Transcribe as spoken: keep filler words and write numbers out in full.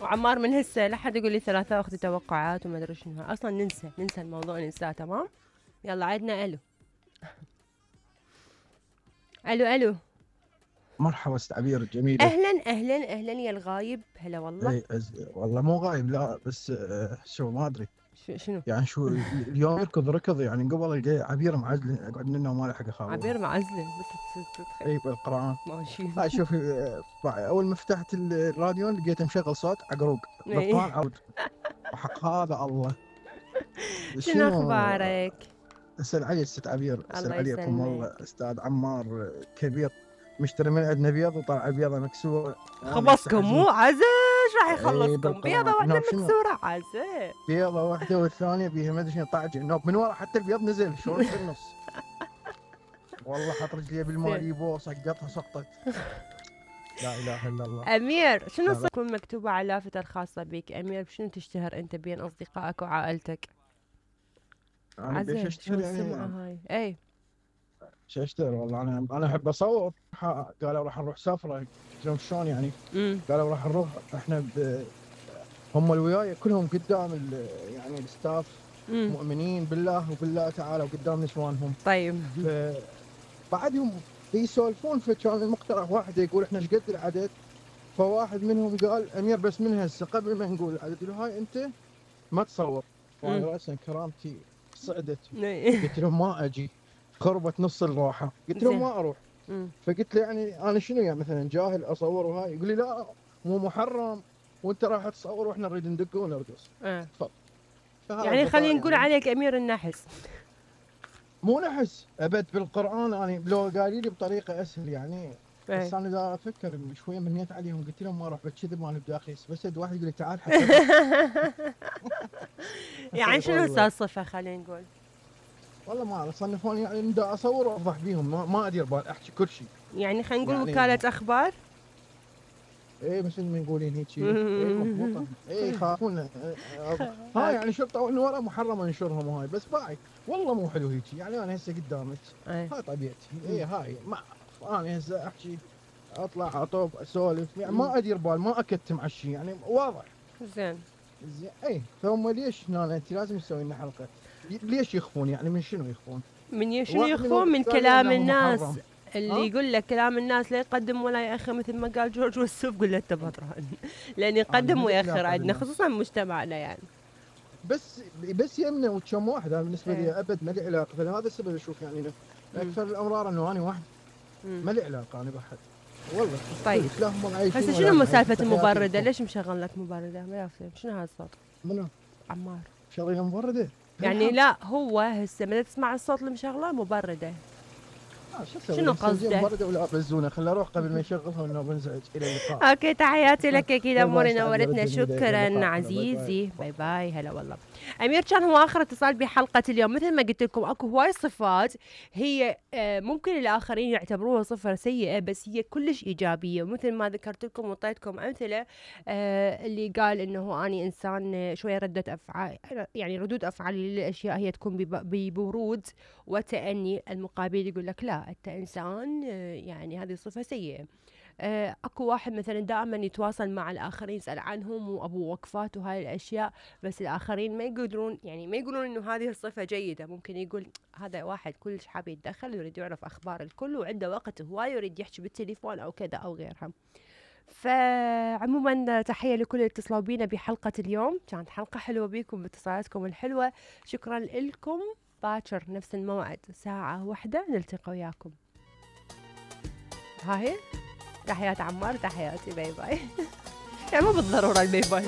وعمار من هسه لا حد يقول لي ثلاثة اختي توقعات وما ادري شنو، اصلا ننسى ننسى الموضوع ننساه. تمام يلا عدنا الو. الو الو مرحبا ست عبير جميلة. اهلا اهلا اهلا يا الغايب، هلا والله. اي أز... والله مو غايب لا، بس آه شو ما ادري شنو يعني شو اليوم يركض ركض يعني. قبل القى عبير معزل اقعد منه وما له حق اخابره. عبير معزله بس تتخيل. اي بالقران. ماشي. هاي شوفي آه، اول ما فتحت الراديو لقيته مشغل صوت عقروق بالقران عود. وحق هذا الله. شنو اخبارك؟ اسال علي ست عبير، اسال الله عليكم والله. يسلمك. استاذ عمار كبير مشتري من عندنا بيض وطلع بيضه مكسوره. خبصكم مو عزيز راح يخلصكم بالقرآن. بيضة واحدة نوب شنو؟ مكسورة عزيز. بيضة واحدة والثانية بيها ما ادري شنو طاعج نوب من ورا حتى البيض نزل شلون في النص. والله حط رجلي بالماء يبو سقطها سقطت. لا اله الا الله. امير شنو لا لا. تكون مكتوبة على اللافتة الخاصة بك؟ امير بشنو تشتهر انت بين اصدقائك وعائلتك؟ انا بيش عزيز شنو اشتري يعني السمعة هاي؟ اي شو اشتري والله. انا انا احب اصور. قالوا راح نروح سفرة. قلت لهم شلون يعني؟ امم قالوا راح نروح احنا ب... هم اللي وياي كلهم قدام ال... يعني الستاف امم مؤمنين بالله وبالله تعالى وقدام نسوانهم. طيب ف... بعدهم يسولفون. فكان المقترح واحد يقول احنا ايش قد العدد. فواحد منهم قال امير بس من هسه قبل ما نقول العدد قلت له هاي انت ما تصور. وانا راسا كرامتي صعدت. قلت لهم ما اجي. خربت نص الراحه. قلت لهم ما اروح. فقلت له يعني انا شنو يعني مثلا جاهل اصور وهاي؟ يقول لي لا مو محرم وانت راح تصور واحنا نريد ندق ونرقص. اه تفضل. يعني خلينا نقول يعني عليك امير النحس. مو نحس ابد بالقران. يعني لو قالوا لي بطريقه اسهل يعني. بس انا دا افكر شويه منيت عليهم قلت لهم ما اروح بكذب ما بداخلي. بس واحد يقول لي تعال حتى. يعني شنو صار صفه خلينا نقول؟ والله ما اعرف صنفوني يعني دا اصور وافضح بيهم. ما, ما ادير بال احكي كل شيء. يعني خلينا نقول يعني وكاله اخبار. ايه مثل ما يقولين هيك. ايه مضبوطه. ايه يخافون. ها يعني شرطه انه ورا محرم انشرهم وهاي. بس باعي والله مو حلو هيك. يعني انا هسه قدامك هاي طبيعتي. ايه هاي ما انا هسه احكي اطلع اطوف اسولف يعني ما ادير بال ما اكتم على الشيء يعني واضح. زين زين اي فهم ليش هنا انت لازم تسوي لنا حلقه. ليش يخفون يعني من شنو يخفون؟ من شنو يخفون؟ من كلام الناس محرم. اللي يقول لك كلام الناس لا يقدم ولا يأخر مثل ما قال جورج وسوف. قول له انت بطران لان يقدم ويأخر عندنا خصوصا مجتمعنا يعني. بس بس يمنا وكم واحد. انا بالنسبه ايه. لي ابد ما لي علاقه. فلهذا السبب اشوف يعني اكثر الامرار انه انا واحد ما لي علاقه انا بحد والله. طيب هسه شنو سالفه المبرده؟ ليش مشغل لك مبرده؟ ما يفهم شنو هذا الصوت؟ منو؟ عمار شغله مبرده يعني. لا هو هسه ما تسمع الصوت اللي مشغله مبرده. آه شنو قصدك؟ مبرده ولا بزونه. خليني اروح قبل ما يشغلها وانه بنزعج. الى اللقاء. اوكي تحياتي لك اكيد اموري نورتنا. شكرا عزيزي. باي باي. هلا والله. امير كان هو اخر اتصال بحلقه اليوم. مثل ما قلت لكم اكو هواي صفات هي ممكن الاخرين يعتبروها صفه سيئه بس هي كلش ايجابيه. ومثل ما ذكرت لكم وطيتكم امثله اللي قال انه اني انسان شويه رده افعال يعني ردود افعالي للاشياء هي تكون ببرود وتأني. المقابل يقول لك لا انت انسان يعني هذه صفه سيئه. آه، اكو واحد مثلا دائما يتواصل مع الاخرين يسال عنهم وابو وقفات وهاي الاشياء بس الاخرين ما يقدرون يعني ما يقولون انه هذه الصفه جيده. ممكن يقول هذا واحد كلش حاب يتدخل ويريد يعرف اخبار الكل وعنده وقت هواي يريد يحكي بالتليفون او كذا او غيرها. فعموما تحيه لكل اللي اتصلوا بينا بحلقه اليوم. كانت حلقه حلوه بيكم باتصالاتكم الحلوه. شكرا لكم. باكر نفس الموعد ساعه واحدة نلتقي وياكم. ها هي تحيات عمار. تحياتي. باي باي. يعني مو بالضرورة الباي باي.